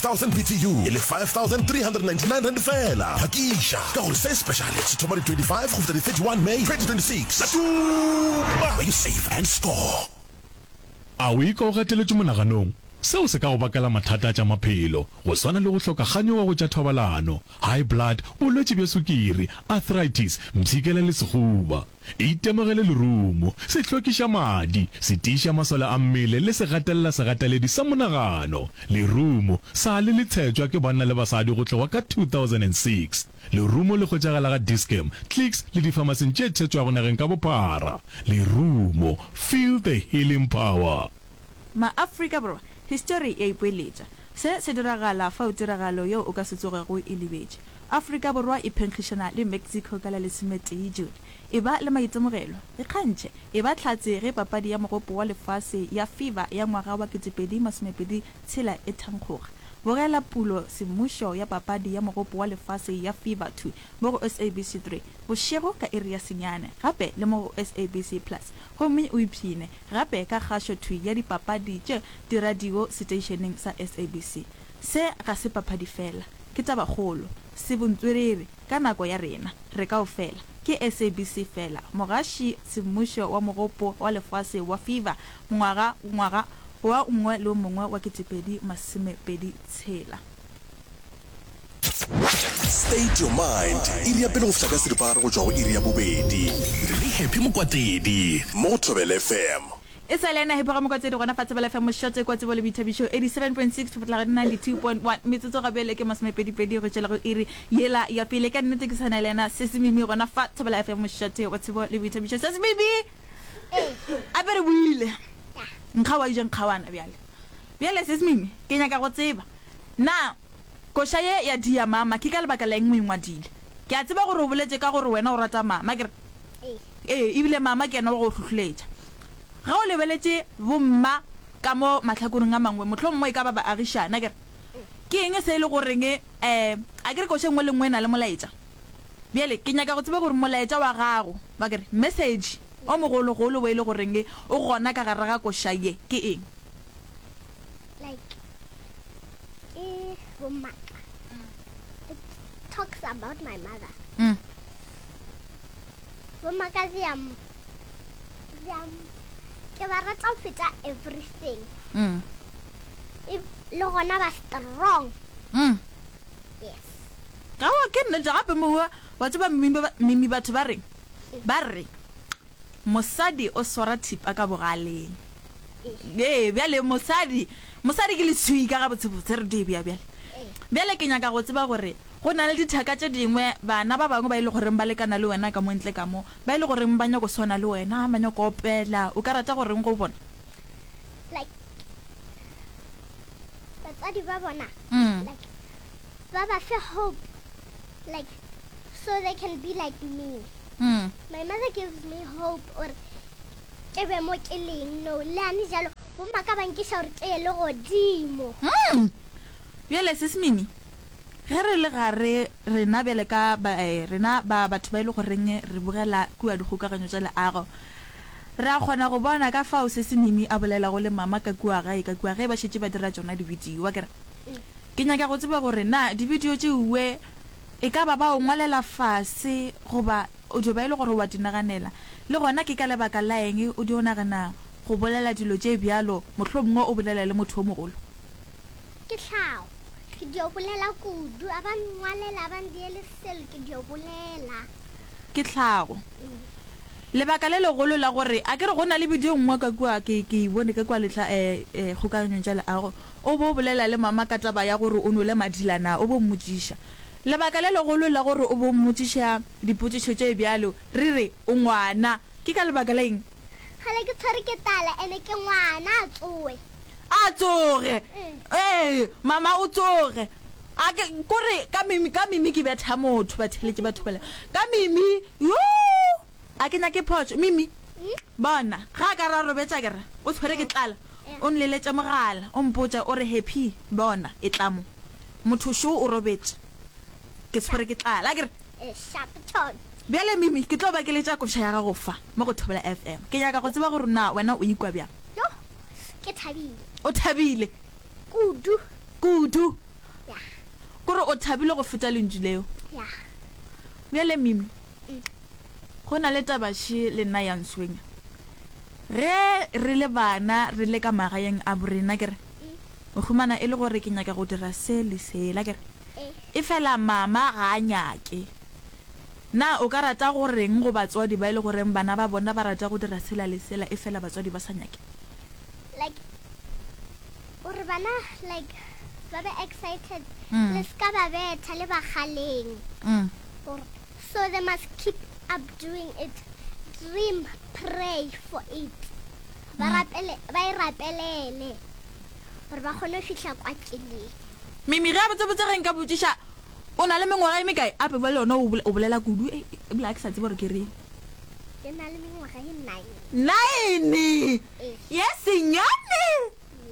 5000 BTU e le R5399 feela. Phakiša ka gore se speciale se thoma di 25 go fihla di 31 May 2026. Latuma! Where you save and score. A o ikwa o gateletšwe monaganong? Seo se ka go bakela mathata a tša maphelo, go swana le go hloka kganyogo go tša thobalano, high blood, bolwetši bja sukiri, arthritis, mpshikela le sehuba. Itemogele lerumo, se hlwekiša madi, se tiiša masole a mmele le se gatelela segateledi sa monagano. Lerumo sa le le tshetšwa ke banna le basadi go tloga ka 2006. Lerumo le hwetšagala ga Dis-Chem, Clicks le difamasing tše tshetšwago nageng ka bophara. Lerumo, feel the healing power. Ma-Afrika Borwa, histori e a ipoeletša. Se se diragala fao tiragalo yeo o ka se tsogego o e lebetše. Afrika Borwa e phenkgišana le Mexico ka la lesometee June. Eba le maitemogelo, ikgantšhe, eba hlatse ge papadi ya Mogopo wa Lefase ya FIFA ya ngwaga wa 2026 e thankgoga. Bogela pulo semmušo ya papadi ya Mogopo wa Lefase ya FIFA thwi mo go SABC 3 bošego ka iri ya senyane gape le mo go SABC Plus gomme o ipshine gape ka kgašo thwi ya dipapadi tše diradio seteišeneng sa SABC. Se ga se papadi fela, ke tabakgolo. Se bontswerere ka nako ya rena, re kaofela. Ke SABC fela, mogaši semmušo wa Mogopo wa Lefase wa FIFA ngwaga ngwaga wa nngwe le o mongwe wa 2026. State your mind, iri ya pele go fihla ka seripagare go tšwa go iri ya bobedi. Le Happy Mokwatedi mo go Thobela FM. E sa le yena Happy Ramokwatedi gona fa Thobela FM mošate kwa tsebo le boithabišo 87.6 go fihla go 92.1 metsotso ga bjale ke masomepedipedi go tšwela go iri yela ya pele. Ka nnete ke sa na le yena Sesi Mimi gona fa Thobela FM mošate wa tsebo le boithabišo. Sesi Mimi! Ape re boile. Nkga wa ija nkgawana bjale. Bjale Sesi Mimi ke nyaka go tseba na Koša ye ya Dear Mama ke ka lebaka la eng o e ngwadile? Ke a tseba gore o boletše ka gore wena o rata mama, akere? Ee, ebile mama ke yena wa go hlohleletša. Ge o lebeletše bomma ka mo mahlakoreng a mangwe, mohlomongwe e ka ba baagišane, akere? Ke eng se e le goreng, um akere koša e nngwe le nngwe e na le molaetša? Bjale ke nyaka go tseba gore molaetša wa gago, akere, message o mogologolo wo e le goreng o gona ka gare ga koša ye ke eng? Like ke bomaka. It talks about my mother. Mm. Bomaka they are ke ba rata go feta everything. Mm. E, le gona ba strong. Mm. Yes. Ga wa ke nnete gape mowa wa tseba mimi batho ba reng ba re Mosadi o swara thipa ka bogaleng. Ee, bjale mosadi, mosadi ke leswika gabotsebotse, re di bea bjale. Bjale ke nyaka go tseba gore go na le dithaka tše dingwe, bana ba bangwe ba e le goreng ba lekana le wena ka mo ntle ka mo, ba e le goreng ba nyako swana le wena, ba nyako opela, o ka rata go reng go bona? Like, batswadi ba bona, like, ba ba fe hope, like, so they can be like me. Mm. My mother gives me hope or ke be mo ke leng no le ane jalo bomma ka ba nkiša gore ke ye le godimo. Mm. Bjale sis Mimi, ge re le gare rena bjale ka ba, eh, rena ba batho ba e le goreng re bogela kua dikgokaganyo tša leago, re a kgona go bona ka fao sis Mimi a bolelago le mama ka kua gae ka kua ge ba šetše ba dira tšona dibidio. Akere? Ke nyaka go tseba gore na dibidio tšeue E ka ba ba o ngwalela fase goba o dio ba e le gore o a di naganela? Le gona ke ka lebaka la eng o dio nagana go bolela dilo tše bjalo, mohlomongwe o bolela le motho yo mogolo? Ke tlhago. Ke dio bolela kudu. A ba nngwalela, a ba ndiele selo, ke dio bolela. Ke tlhago. Lebaka le legolo la gore, a ke re go na le bidio nngwe ka kua, ke, ke e bone ka kua lehla, eh, eh, kgokaganyong tša leago, o bo o bolela le mama ka taba ya gore o nwele madila na, o bo mmotšiša. Lebaka le legolo la gore o bo mmotšiša dipotšišo tše bjalo, re re, o ngwana, ke ka lebaka la eng? Kgale ke tshwere ke tala ene ke ngwana, a tsoe. A tsoge! Ee, mama o tsoge. A ke, kore ka mimi, ka mimi ke betha motho, batheeletši ba thobela. Ka mimi, yoo! A ke nyake phošo. Mimi, bona, ge a ka re a robetše a ke re, o tshwere ke tlala, o nleletše mogala, o mpotša, o re, Happy, bona, etla mo. Motho šo o robetše. Ke tshwere ke tlala. A ke re. Bjale, Mimi, ke tlo ba ke letša koša ya gago fa, mo go Thobela FM. Ke nyaka go tseba gore na wena o ikwa bjang. Yoh, ke thabile. O thabile? Kudu. Kudu. Kore o thabile go feta lentšu leo. Ya. Bjale Mimi, go na le taba še le nna ya nswenya. Ge re le bana re le ka magaeng a borena ke re, o humana e le gore ke nyaka go dira se le sela ke re, efela mama ga a nyake. Na o ka rata go reng go batswadi ba e le goreng bana ba bona ba rata go dira sela le sela efela batswadi ba sa nyake? Like gore bana like ba be excited le se ka ba betha le ba kgaleng gore so they must keep up doing it dream pray for it ba rapele ba e rapelele gore ba kgone go fihla kwa keleng. Mimi, ge a botsebotse ge nka botšiša o na le mengwaga e mekae? Ape bjale yona o bolela kudu ebile ga ke sa tsebe gore ke reng. Ke na le mengwaga e nine. Nine? Ye senyane?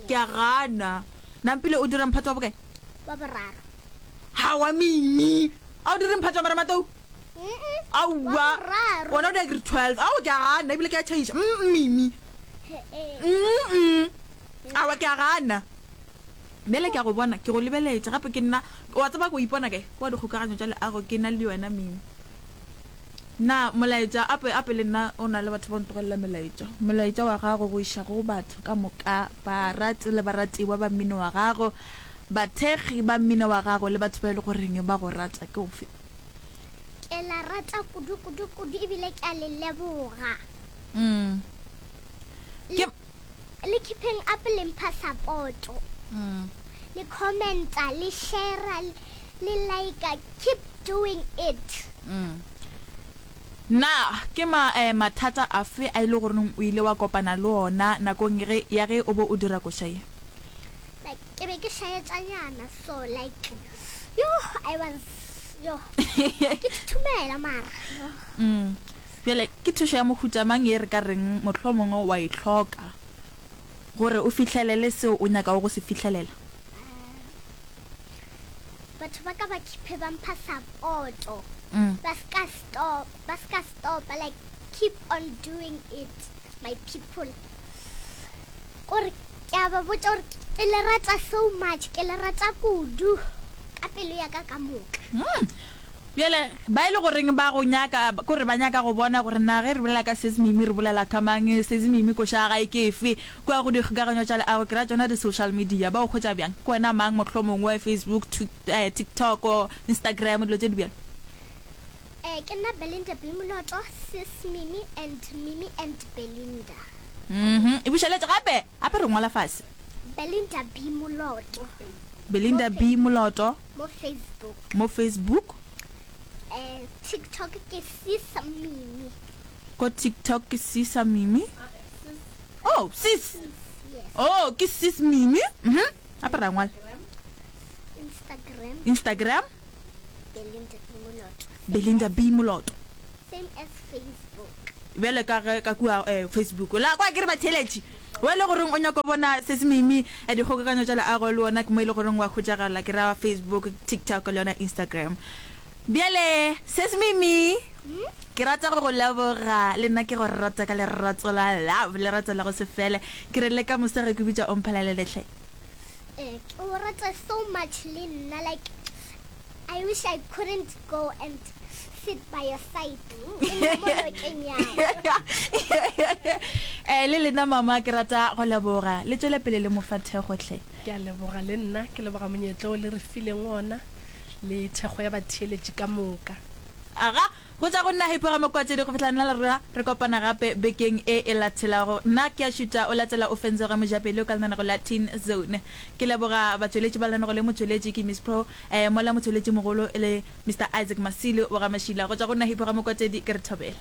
Ke a gana. Nampile o dira mphato wa bokae? Wa boraro. Hawa Mimi, a o dire mphato wa marematlou? Aowa. Wona o dira grade 12. Ao ke a gana ebile ke a tšhaiša. Mm Mimi. Mm. Aowa ke a gana. Bjale ke a go bona, ke go lebeletše gape ke nna, wa tseba ke o ipona kae? Kwa dikgokaganyo tša leago ke na le wena Mimi. Na molaetša, ape, ape le nna o na le batho ba ntlogelela melaetša. Molaetša wa gago go iša go batho ka moka, barati le baratiwa ba mmino wa gago, bathekgi ba mmino wa gago le batho ba e le goreng ba go rata ke ofe? Ke la rata kudu, kudu, kudu ebile ke a le leboga. Mm. Ke. Le keeping up le mpha support-o. Mm. Le commenta, le share-a, le like-a, keep doing it. Mm. Na ke ma, eh, mathata afe a e le goreng o ile wa kopana le ona nakong ge, ya ge o be o dira koša ye? Like, ke be ke šaetšanyana, so like, yoh, I was, yoh, ke thuthumela mara, yoh. Mm. Bjale, ke thušo ya mohuta mang ye re ka reng mohlomongwe wa e hloka gore o fihlelele seo o nyakago go se fihlelela? Batho ba ka ba keep ba mpha support-o, ba ska stop, ba ska stopa, like keep on doing it my people. Kore ke a ba botša gore ke le rata so much, ke le rata kudu ka pelo ya ka ka moka. Bjale, ba e le goreng ba go nyaka, ke gore ba nyaka go bona gore na ge re bolela ka Sis Mimi re bolela ka mang, Sis Mimi koša ya gae ke efe, kua go dikgokaganyo tša leago, ke ra tšona di-social media, ba go hwetša bjang? Ke wena mang mohlomongwe, Facebook, TikTok, Instagram, dilo tše di bjalo? Eh, ke nna Belinda B. Moloto, Sis Mimi and Mimi and Belinda. Mhm, e bušeletše gape, gape re ngwala fase. Belinda B. Moloto. Belinda B. Moloto. Mo Facebook. Mo Facebook. Eh, TikTok ke Sisa Mimi. Ko TikTok ke Sisa Mimi. Oh, sis. Yes. Oh, ke Sis Mimi. Mhm. Gape ra ngwala. Instagram. Instagram. Belinda B Moloto. Belinda B Moloto. Same as Facebook. Bjale ka ge ka kua eh, Facebook. La kwa ke re batheeletši. Wo e le goreng o nyaka go bona Sesi Mimi, dikgokaganyo tša leago le wona ke mo e le goreng wa hwetšagala, ke ra Facebook, TikTok le yona Instagram. Bjale Sesi Mimi, ke rata go go leboga, le nna ke go rata ka lerato la love, lerato la go se fele. Ke re le ka moso ge ke bitša o mphalelele hle. Eh, ke o rata so much le nna like I wish I couldn't go and sit by your side. Ke nna mo nokeng ya ka. Eh, le lena mama ke rata go leboga. Le tšwele pele le mo fa thekgo hle. Ke a leboga le nna, ke leboga monyetla o le re fileng ona le thekgo ya batheeletši ka moka. Aga, Go tšwa go nna Happy Ramokwatšedi go fihla nna le rena re kopana gape bekeng e e latelago. Nna ke a šuta o latela o fenzoge mojapelo ka lenanego la Teen Zone. Ke leboga batšweletši ba lenanego le motšweletši ke Miss Pro eh, mola motšweletši mogolo e le Mister Isaac Masilo wa ga Mašila. Go tšwa go nna Happy Ramokwatšedi ke re thobela.